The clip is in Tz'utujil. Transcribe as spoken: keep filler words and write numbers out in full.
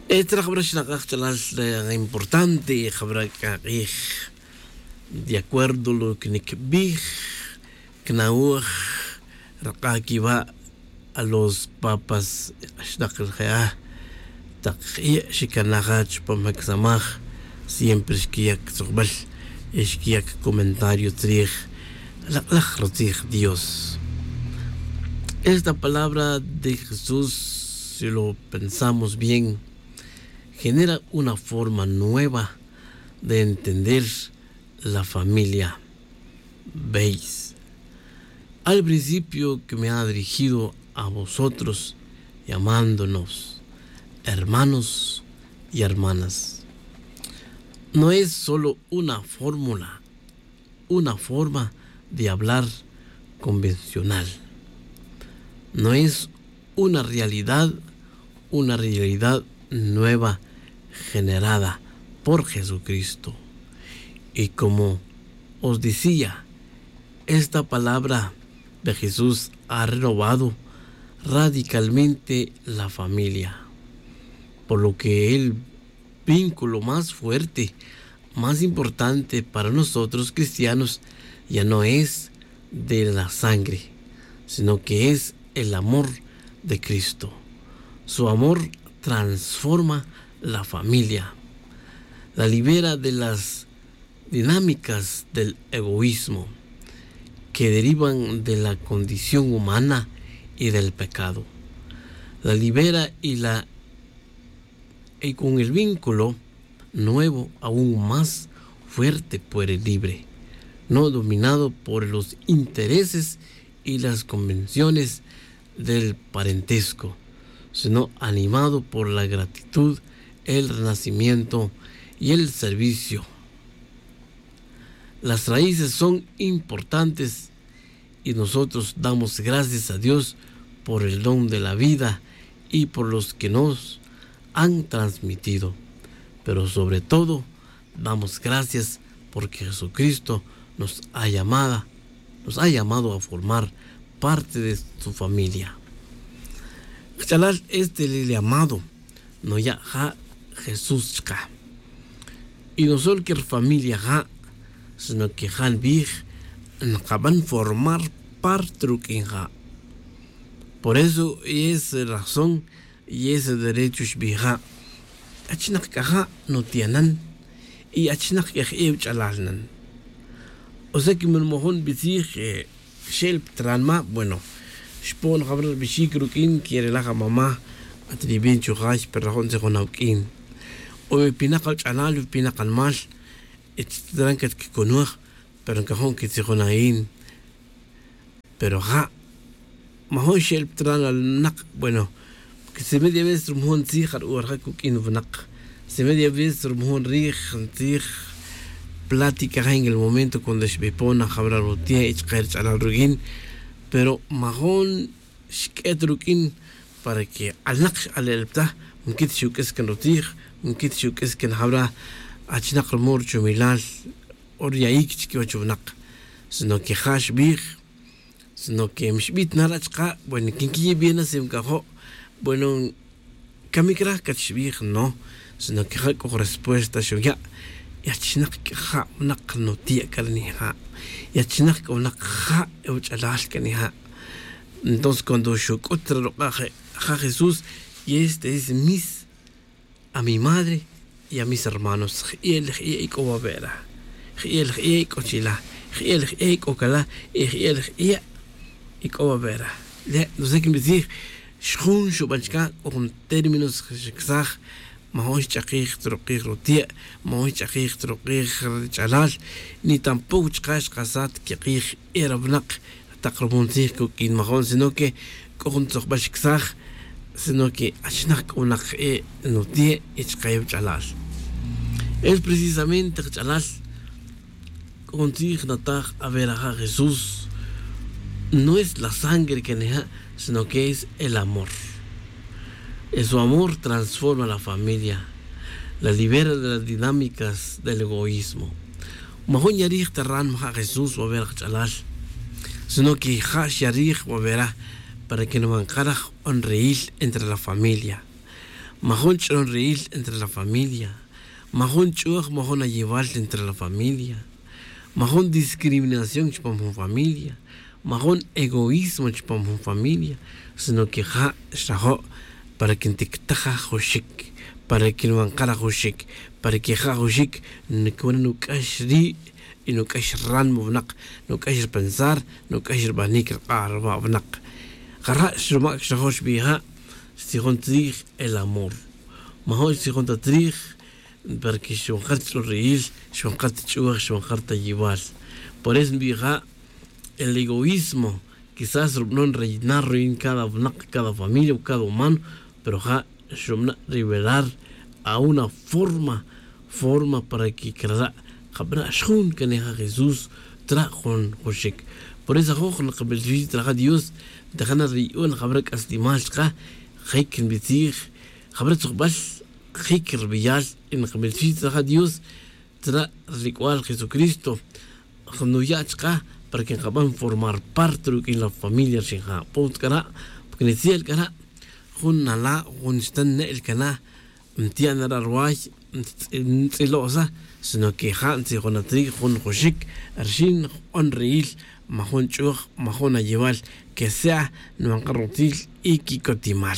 Etra jabra xnakaj ch'alal importante jabra k'a k'ij. De acuerdo lo que nikbij, kna'oj rak'a' kiwa' a los papas xnaq je'a tak xikanaja chupam je' ksamaj. Siempre xkiya' ktzojbal y xkiya' kcomentario tzrij lak'laj rutzij dios. Esta palabra de jesús, si lo pensamos bien, genera una forma nueva de entender la familia. Veis, al principio que me ha dirigido a vosotros llamándonos hermanos y hermanas, no es solo una fórmula, una forma de hablar convencional. No es una realidad, una realidad nueva generada por Jesucristo. Y como os decía, esta palabra de Jesús ha renovado radicalmente la familia, por lo que el vínculo más fuerte, más importante para nosotros cristianos ya no es de la sangre, sino que es el amor de Cristo. Su amor transforma la familia, la libera de las dinámicas del egoísmo que derivan de la condición humana y del pecado. La libera y la y con el vínculo nuevo aún más fuerte por el libre, no dominado por los intereses y las convenciones del parentesco, sino animado por la gratitud, el renacimiento y el servicio. Las raíces son importantes y nosotros damos gracias a Dios por el don de la vida y por los que nos han transmitido. Pero sobre todo, damos gracias porque Jesucristo nos ha llamado, nos ha llamado a formar parte de su familia. Jch'alal este el llamado noya' ja' Jesús chka. Y no solo que rfamilia ja', sino que ja' nbij nkaban formar parte ruq'uin ja'. Por eso y es razón y es derecho xbij ja'. Achinak c'a ja' nutianan y achinak c'a je' uch'alal nan. O sea que man mojon bitzij xe'el ptranma', bueno, xpo'n jabra' rbixic ruq'uin que relaj amama'. At ribin chujay pero rajon tzijon awuq'uin. O wi pinak awuch'alal wi pinak animal, y tran catquiconuaj, pero ncajon quitzijon ayin. Pero ja' majon xe'el ptran al winak. Bueno, si media vez rumojon tzij ja' ru'or ja' cuq'uin winak. Si media vez rumojon rij ntzij plática ja' en el momento cuando xbipon na jabra' rutia' y chke rich'alal ruq'uin. Pero majon xq'uet ruq'uin para que alnak x'ale'el pta. Mquit xuq'uis can rutzij, mquit xuq'uis can jabra' achinak rumo ruchumilal o ruya'ic chiquiwach winak. Sino que ja' xbij, sino que mixbit na ra' chka'. Bueno, quin quiye' bien na si mcajo', bueno, camic ra' cat xbij no. Sino que ja' c'o respuesta xuya'. Y achinak c'a ja' winak nutiya' c'a ri nija'. Y achinak c'a winak ja' e uch'alal c'a nija'. Entonces cuando xuc'ut ra ruk'a' ja' jesús, y este es mis a mi madre y a mis hermanos. Je'el je'e' ic'o wawe' ra. Je'el je'e' ic'o chila. Je'el je'e' ic'o cala. Y je'el je'e' ic'o wawe' ra. Le' no sé qué me dice. Xjun xuban chca c'o jun términos xicasaj. Majon xch'akij ta rukij rutie', majon xch'akij ta rukij rich'alal. Ni tampoco chka' xkasat quikij e ra winak tak rumontzij cuq'uin majon sino que c'o jun tzojbal xicasaj. Sino que achinak c'o winak e nutie' y chka' e wach'alal. Es precisamente kach'alal c'o jun tzij nataj. Aver aja' jesús no es la sangre que nija', sino que es el amor. Es su amor transforma la familia, la libera de las dinámicas del egoísmo. Majun yarij ta ran maja' jesús waver kach'alal, sino que ja' xyarij wavera para que numan karaj onreyil entre la familia. Majun ch'onri'il entre la familia. Majun ch'uj majun ayewal entre la familia. Majun discriminación chupam jun familia. Majun egoísmo chupam jun familia. Sino que ja' xrajo' para que ntictaj ajuxik, para que nwankar ajuxik, para que ja' ajuxik ncawan nuc'ax ri' y nuc'ax ránimo winak, nuc'ax ripensar, nuc'ax ribanic rik'a' ruwa' winak. Jara' xrumac xrajo' xbij ja', xtzijon tzij el amor. Majo' xtzijon ta tzij para que xwankar ta ch'ulri'il, xwankar ta ch'uj, xwankar ta yewal. Por eso nbij ja', el egoísmo quizás rubanon rellenar ruyin cada winak, cada familia o cada humano, pero ja' xrubana' revelar a una forma, forma para que crara' jabana' xjun can ja' Jesús tra' jun juxic. Por eso ajoj nkamiltixin tra ja' Dios, ntajana ri yu'un jabara' c'aslimal chka, jic nbitzij jabara' tzujbal, jic rbeyal y nkamiltixin tra ja' Dios, tra' ri c'ual Jesucristo nuya' chka para que nkaban formar parte ruq'uin la familia rixin ja' pon c'a ra', porque nitzel c'a ra' jun nala' jun xtan ne'el cana, ntiya' na ra' ruway, ntz'ilo'sa, sino que ja' ntzijona tzij jun juxic rixin jun ri'il, majun ch'uj majun ayewal, que sea nwankar rutzil y quicotimal.